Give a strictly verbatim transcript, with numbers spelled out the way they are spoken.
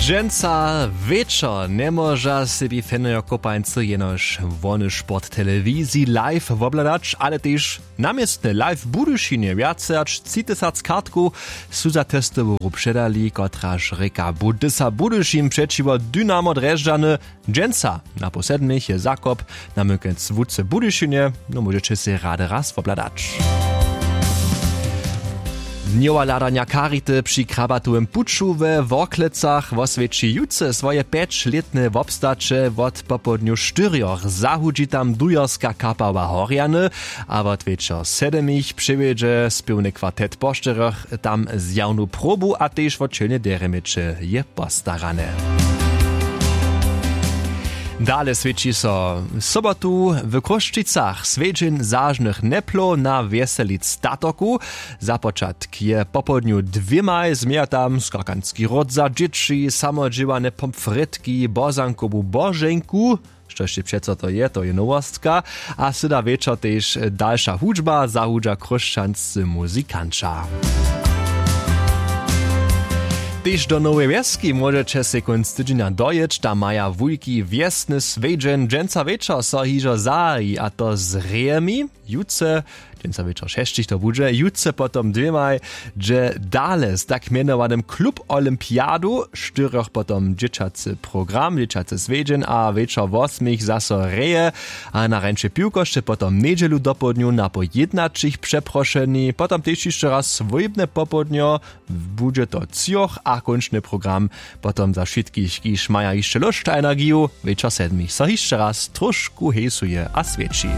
Dźensa wječor njemóža sebi fenojo kopańcy jenož wony sport telewiziji live wobhladać, ale tež na městnje live w budyšinje wjace hač tři tysac kartkow su za testowu hru předali, kotraž rěka budysa budyšin přećiwo dynamo drježdźany. Dźensa na pół sedmich je zakop, na mynkec wutře budyšinje. No móžeće sej rady raz wobhladać. Dnjowa hladanja charity při krabatowym puću we worklecach woswjeći jutře swoje pjećlětne wobstaće wot popołdnju štyrjoch zahudźi tam dujerska kapała horjany, a wot wječor sedmich přewjedźe spěwny kwartet po štyrjoch tam zjawnu probu a tež wot čelnje derjeměće je postarane. Dale swědči so sobotu w chrósćicach swjedźeń zažnych njeplow na wjeselic statoku. Za počatk je popołdnju dwěmaj změja tam skakanski ród za dźěći samodźěłane pomfrětki bozankowu boženku, štož je přeco to je to je nowostka. A syda wječor tež dalša hudźba zahudźa chróšćanscy muzikanća. Tež do noweje wjeski móžeće sej kónc tydźenja dojěć tam maja wulki wjesny swjedźeń dźensa wječor so hižo zahaji a to z rejemi jutře. Dźensa wječor šesćich to budźe jutře potom dwěmaj, dźe dale z tak mjenowanym klub olympiadu štyrjoch potom dźěćacy program dźěćacy swjedźeń a wječor wosmich zaso reje. A na rjeńšej piwkosće potom njedźelu dopołdnju na po jědnaćich přeprošeni potom tež hišće raz swójbne popołdnjo. Budźe to třoch a kónčny program potom za wšitkich kiž maja hišće lóšć a energiju. Wječor sedmich so hišće raz tróšku hejsuje a swjeći.